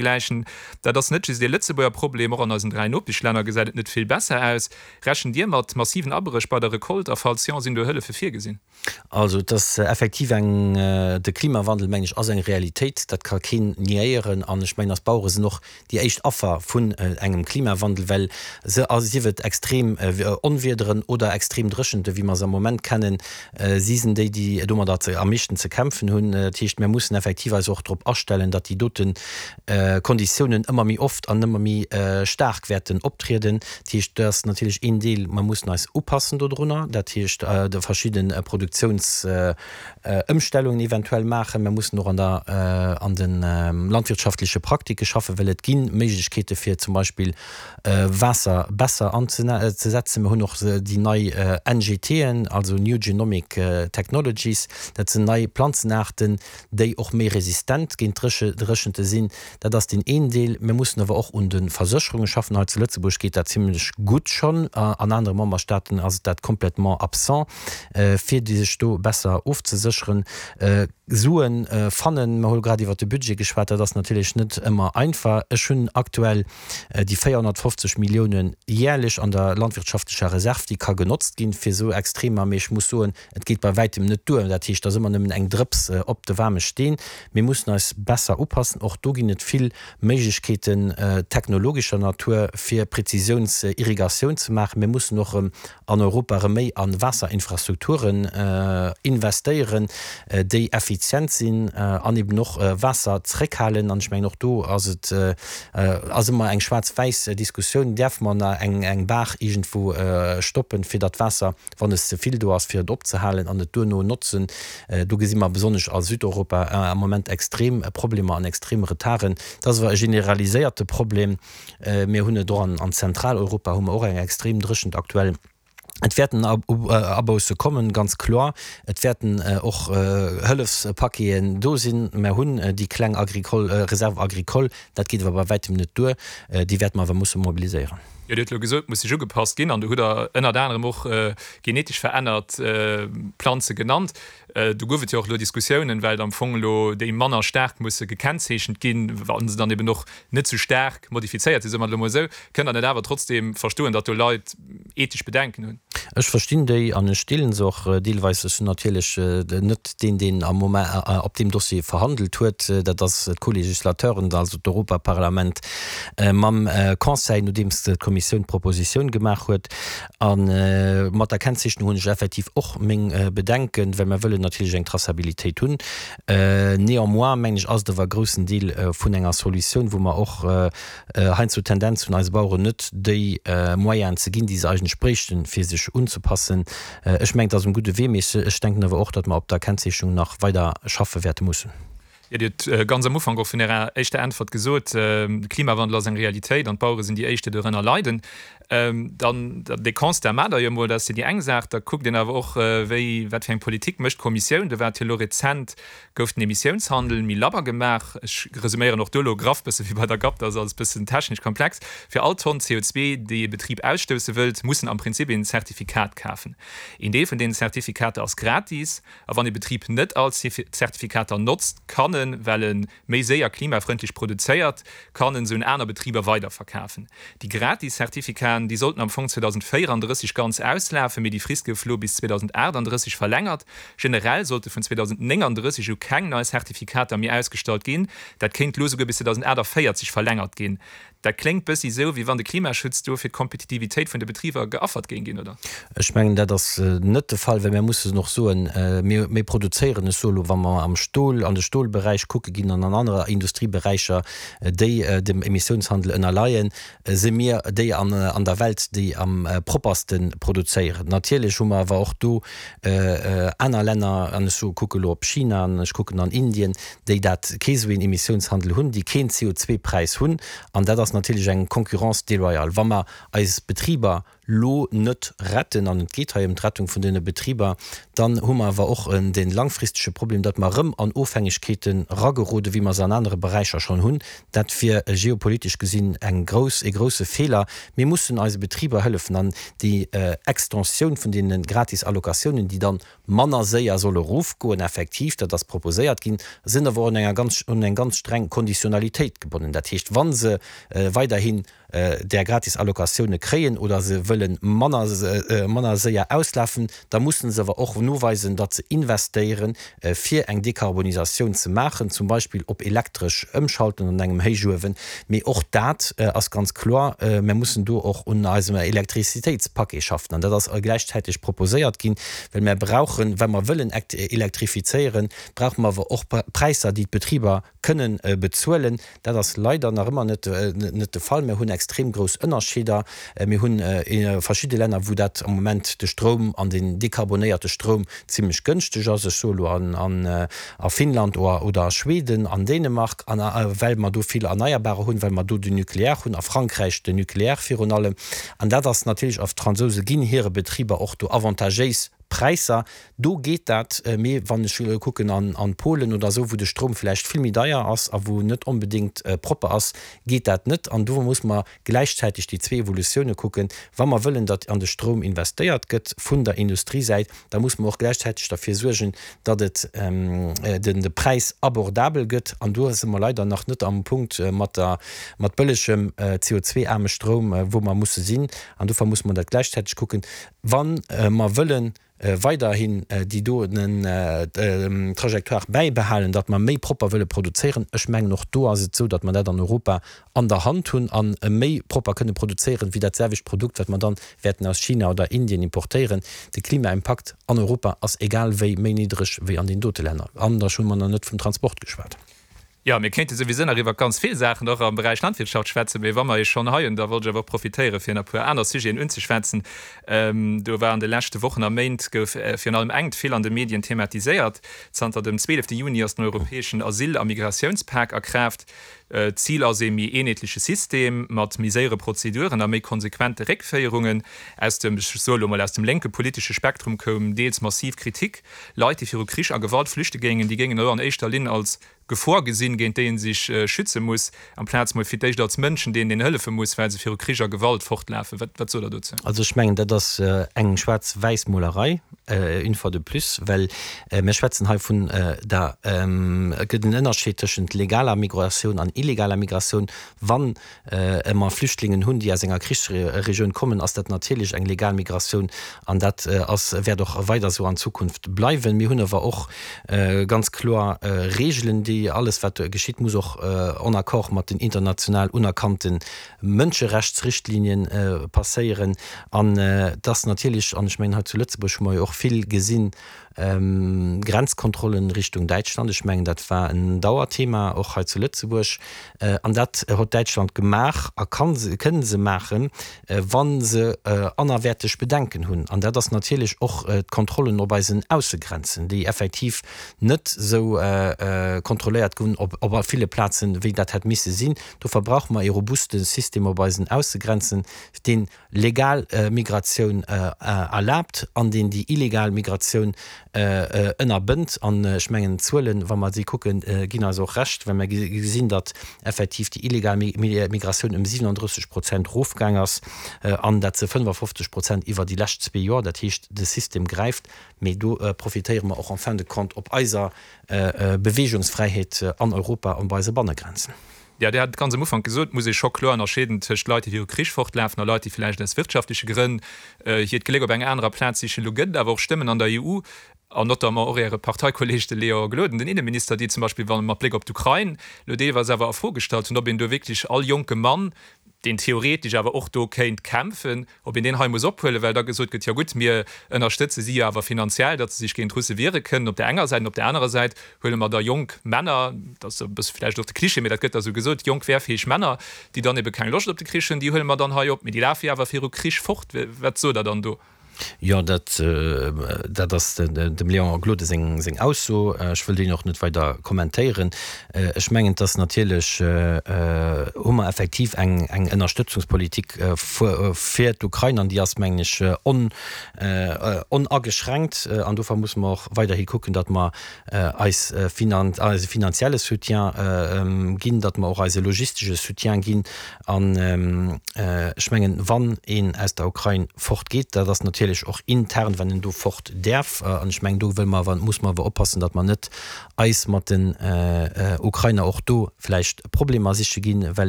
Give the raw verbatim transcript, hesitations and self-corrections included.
Gläichen. Dat ass net just ee Lëtzebuerger Problem, och an eisen dräi Nopeschlänner gesäit et net vill besser aus. Rechent Dir mat massiven Abréch bei der Recolte a falls jo, sinn do Hëllefe virgesinn? Also et ass effektiv eng, de Klimawandel, mengen ech, ass eng Realitéit, dat ka keen niéieren. An ech mengen, eis Bauere sinn och déi éischt Affer vun engem Klimawandel, well se, sief et extrem Onwiederen oder extrem Dréchente wéi mer se am Moment kennen, si sinn déi, déi domadder am meeschten ze kämpfen hunn. Dat heescht, mir mussen effektiv eis och drop astellen, datt déi dote Konditiounen ëmmer méi oft an ëmmer méi staark wäerten optrieden. Dat heescht, dat ass natierlech een Deel, mer mussen eis upassen dodrunner, dat heescht de verschidde Produktiounsëmstellungen eventuell maachen. Mer mussen och an der, an de landwirtschaftleche Praktike schaffen, well et gi Méiglechkeete fir zum Beispill Waasser besser anzesetzen. Mer hunn och déi nei N G T-en, also New Genomic Technologies, dat sinn nei Planzenaarten, déi och méi resistent géint Dréchente sinn. Dat ass deen een Deel. Mir mussen awer och un de Versécherunge schaffen. Hei zu Lëtzebuerg geet dat zimlech gutt schonn, an anere Memberstaaten ass et dat complètement absent, fir déi sech do besser ofzesécheren. Suen fannen, mer hu grad iwwert de Budget geschwat, dat ass natierlech net ëmmer einfach. Ech hunn aktuell déi véierhonnertfofzeg Milliounen jährlech an der landwirtschaftlecher Reserv, déi ka genotzt ginn fir esou Extremer, mee ech muss soen, et geet bei wäitem net duer. Dat heescht, et ass ëmmer nëmmen eng Drëps op de waarme Steen. Mir mussen eis besser upassen. Och do ginn et vill Méiglechkeeten technologescher Natur, fir Präzisiounsirrigatioun ze maachen. Mir mussen och erëm an Europa erëm méi a Waasserinfrastrukturen investéieren, déi effizient sinn an eben och Waasser zréckhalen. An ech mengen, och do ass et ass ëmmer eng schwaarz-wäiss Diskussioun, Däerfe mer nach eng Baach iergendwou stoppen, fir datt Waasser, wann es ze vill do ass, fir et opzehalen an et duerno notzen? Do gesi mer besonnesch a Südeuropa am Moment extrem Problemer an extrem Retarden. Dat ass awer e generaliséierte Problem. Mir hunn et och an Zentraleuropa hu mer och eng extrem Dréchent aktuell. Et wäerten Abousse kommen, ganz kloer. Et wäerten och Hëllefspaqueten do sinn. Mer hunn déi kleng Agricole, Réserve agricole, dat geet awer bei wäitem net duer. Déi wäerte mer awer musse mobiliséieren. Jo, Dir hutt elo gesot, et muss sech ugepasst ginn an do hutt Der ënnert anerem och genetesch verännert Planze genannt. Do gouf et jo och elo Diskussiounen, well am Fong elo déi manner staark musse gekennzeechent ginn, wa se dann eben och net sou staark modifizéiert sinn, soe mer et elo mol esou. Kënnt Der net awer trotzdeem verstoen, datt do Leit ethesch Bedenken hunn? Ech verstinn déi an ech deelen se och deelweis. Ech sinn natierlech net deen, deen am Moment op deem Dossier verhandelt huet. Dat ass d'Co-Législateuren, also d'Europaparlament mam Conseil, nodeems d'Kommissioun d'Propositioun gemaach huet. A mat der Kennzeechnung hunn ech effektiv och meng Bedenken, well mer wëllen natierlech eng Traçabilitéit hunn. Néanmoins, mengen ech, ass et awer e groussen Deel vun enger Solutioun, wou mer och heiansdo d'Tendenz hunn, eise Baueren net déi Moyenen ze ginn, déi se eigentlech bréichten, fir sech unzepassen. Ech mengen, et ass um gudde Wee, mee ech denken awer och, datt mer op der Kennzeechnung nach weider schaffe wäerte mussen. Jo, Dir hutt ganz am Ufank och vun Ärer éischter Äntwert gesot, de Klimawandel ass eng Realitéit an d'Bauere sinn déi éischt, déi dorënner leiden. Dann, dee Constat maacht Der jo emol, dat ass jo déi eng Saach. Da kuckt een awer och, wéi, wat fir eng Politik mécht d'Kommissioun. Do war et jo elo rezent, gouf den Emissiounshandel méi labber gemaach. Ech resuméieren och do elo graff, bësse wéi bei der GAP, dat ass alles bëssen technesch komplex. Fir all Tonn C O zwee, déi ee Betrib ausstousse wëllt, muss en am Prinzip een Zertifikat kafen. Een Deel vun deenen Zertifikater ass gratis. A wann ee Betrib net all Zertifikater notzt, kann en, well e méi séier klimafrëndlech produzéiert, kann en se un aner Betriber weiderverkafen. Déi gratis Zertifikaten, déi sollten am Fong zweedausendvéierandrësseg ganz auslafen, mee déi Frist gouf elo bis zweedausendachtanddrësseg verlängert. Generell sollte vun zweedausendnénganddrësseg u keng nei Zertifikater méi ausgestallt ginn. Dat kéint elo souguer bis zweedausendachtavéierzeg verlängert ginn. Dat kléngt bëssi esou, wéi wann de Klimaschutz do fir d'Kompetitivitéit vun de Betriber geaffert géing ginn, oder? Ech mengen, dat ass net de Fall, well mir mussen och soen, mir, mir produzéieren, ech soe lo, wa mer am Stol, an de Stolberäich kucke ginn an an anerer Industrieberäicher, déi dem Emissiounshandel ënnerleien, si mir déi an, an der Welt, déi am propperste produzéieren. Natierlech hu mer awer och do aner Länner, an ech soe kucke lo op China an ech kucken an Indien, déi dat kee sou een Emissiounshandel hunn, déi keen C O zwei Präis hunn, an dat ass natierlech eng Concurrence déloyale. Wa mer eis Betriber lo net retten, an et geet hei ëm d'Rettung vun deene Betriber, dann hu mer awer och dee langfristege Problem, datt mer erëm an Ofhängegkeeten eragerode wéi mer se an anere Beräicher schonn hunn. Dat wier geopolitesch gesinn eng grouss, e grousse Feeler. Mir mussen eise Betriber hëllefen an déi Extensioun vun deene gratis Allocatiounen, déi dann manner séier solle erofgoen, effektiv, dat ass proposéiert ginn, sinn awer och un enger ganz, un eng ganz streng Konditionalitéit gebonnen. Dat heescht, wa se weiderhin där gratis Allocatioune kréien oder se wëlle manner, manner séier auslafen, da mussen se awer och noweisen, datt se investéieren, fir eng Dekarbonisatioun ze maachen, zum Beispill op elektresch ëmschalten an engem Héichuewen. Mee och dat ass ganz kloer, Mir mussen do och un eisem Elektrizitéitspaquet schaffen. An dat ass gläichzäiteg proposéiert ginn, well mir brauchen, wa mer wëllen elektrifizéieren, brauche mer awer och Präisser, déi d'Betriber kënnen bezuelen. Dat ass leider nach ëmmer net net de Fall. Mir hunn extrem grouss Ënnerscheeder. Mir hunn verschidde Länner, wou dat am Moment de Stroum an den dekarbonéierte Stroum zimlech gënschteg ass, ech soe lo an a Finnland oder a Schweden, an Dänemark, an well mer do vill Erneierbarer hunn, well mer do den Nucléaire hunn, a Frankräich den Nucléaire virun allem. An dat ass natierlech, a d'Fransouse ginn hire Betriber och do avantagéis Präisser, do geet dat. Mee wann ech kucken an Polen oder esou, wou de Stroum vläicht vill méi deier ass a wou net onbedéngt propper ass, geet dat net. An do muss mer gläichzäiteg déi zwee Evolutioune kucken. Wa mer wëllen, datt an de Stroum investéiert gëtt vun der Industriesäit, da muss mer och gläichzäiteg derfir suergen, datt et den de Präis abordabel gëtt. An do si mer leider nach net am Punkt mat der mat bëllegem C O zwei aarme Stroum, wou mer musse sinn. An dofir muss mer dat gläichzäiteg kucken, wa mer wëllen weiderhin déi doen Trajectoire bäibehalen, datt mer méi propper wëlle produzéieren. Ech mengen, och do ass et esou, datt mer dat an Europa an der Hand hunn a méi propper kënne produzéieren, wéi dat selwecht Produkt, wat mer dann wäerten aus China oder Indien importéieren. De Klimaimpakt an Europa ass egal wéi méi niddreg wéi an deenen dote Länner. An da hu mer nach net vum Transport geschwat. Jo, mir kéinte souwisou nach iwwer ganz vill Saachen och am Beräich Landwirtschaft schwätzen, mee wa mer Iech schonn hei hunn, da wollt ech awer och profitéieren, fir nach e puer aner Sujeten unzeschwätzen. Do war an de leschte Wochen a Méint gouf virun allem engt vill an de Medien thematiséiert. Zanter dem zwielefte Juni ass den europäeschen Asyl a Migratiounspak a Kraaft. D'Zil ass ee méi eenheetleche System mat méi séiere Prozeduren a méi konsequente Réckféierungen. Aus dem, ech soe lo mol, aus dem lénke politesche Spektrum koum deels massiv Kritik. Leit, déi viru Krich a Gewalt flüchte géingen, déi géingen elo an éischter Linn als Gefor gesinn, géint déi ee sech schütze muss, amplaz mol fir d'éischt als Mënschen, deenen een hëllefe muss, well se viru Krich a Gewalt fortlafen. Wat, wat sot Der dozou? Also ech mengen, dat ass eng Schwaarz-Wäiss-Molerei, une fois de plus, well mir schwätzen hei vun der, et gëtt en Ënnerscheed tëschent legaler Migratioun an illegaler Migratioun. Wann mer Flüchtlingen hunn, déi aus enger Krichsregioun kommen, ass dat natierlech eng legal Migratioun an dat ass, wäert och weider esou an Zukunft bleiwen. Mir hunn awer och ganz kloer Regeln, déi alles wat geschitt muss och en accord mat den international unerkannte Mënscherechtsrichtlinien passéieren. An et ass natierlech, an ech mengen hei zu Lëtzebuerg hu mer jo och vill gesinn, Grenzkontrollen Richtung Däitschland, ech mengen dat war en Dauerthema och hei zu Lëtzebuerg, an dat huet Däitschland gemaach a kann se, kënnen se maachen, wa se anerwäerteg Bedenken hunn. An dat ass natierlech och d'Kontrollen op eisen Aussegrenzen, déi effektiv net esou kontrolléiert ginn op op ville Plazen, wéi dat hätt misse sinn. Dofir brauche mer ee robuste System op eisen Aussegrenzen, deen legal Migratioun erlaabt an deen déi illegal Migratioun ënnerbënnt. An ech mengen, d'Zuelen, wa mer si kucken, ginn eis och Recht, well mer gesinn, datt effektiv déi illegal Migratioun ëm siwenanddrësseg Prozent erofgaang ass, an dat ze fënnefafofzeg Prozent iwwer déi lescht zwee Joer. Dat heescht, de System gräift. Mee do profitéiere mer och en fin de compte op eiser Beweegungsfräiheet an Europa an bei eise Bannegrenzen. Jo, Dir hat et ganz am Ufank gesot, et muss ee scho kloer ënnerscheeden tëscht Leit, déi viru Krich fortlafen, a Leit, déi vläicht aus wirtschaftleche Grënn hiert Gléck op enger anerer Plaz sichen. Elo gëtt et awer och Stëmmen an der E U, an notamment och Äre Parteikolleeg, de Léon Gloden, den Inneminister, déi zum Beispill, wa mat Bléck op d'Ukrain elo deelweis awer a Fro gestallt hunn, ob een do wierklech all jonke Mann, deen theoretesch awer och do kéint kämpfen, ob een deen hei muss ophuelen, well da gesot gëtt, jo gutt, mir ënnerstëtze si jo awer finanziell, datt se sech géint d'Russe wiere kënnen op där enger Säit, an op där anerer Säit huele mer da jonk Männer, dat ass e bësse vläicht och de Cliché, mee dat gëtt da sou gesot, jonk wehrfähig Männer, déi dann ebe keng Loscht op de Krich hunn, déi huele mer dann hei op, mee déi lafe jo awer viru Krich fort. Wat sot Der dann do? Jo, dat, dat ass dem Léon Gloden seng, seng Ausso. Ech wëll déi och net weider kommentéieren. Ech mengen, dass natierlech hu mer effektiv eng, eng Ënnerstëtzungspolitik fir d'Ukrain an déi ass, mengen ech, on, onageschränkt. An dofir musse mer och weiderhi kucken, datt mer eis finan, eise finanzielle Soutien ginn, datt mer och eise logistesche Soutien ginn. An ech mengen, wann een aus der Ukrain fortgeet, dat ass natierlech och intern, wann en do fort däerf, an ech mengen, do wëlle mer awer, muss mer awer oppassen, datt mer net eis mat den Ukrainer och do vläicht Problemer siche ginn, well ech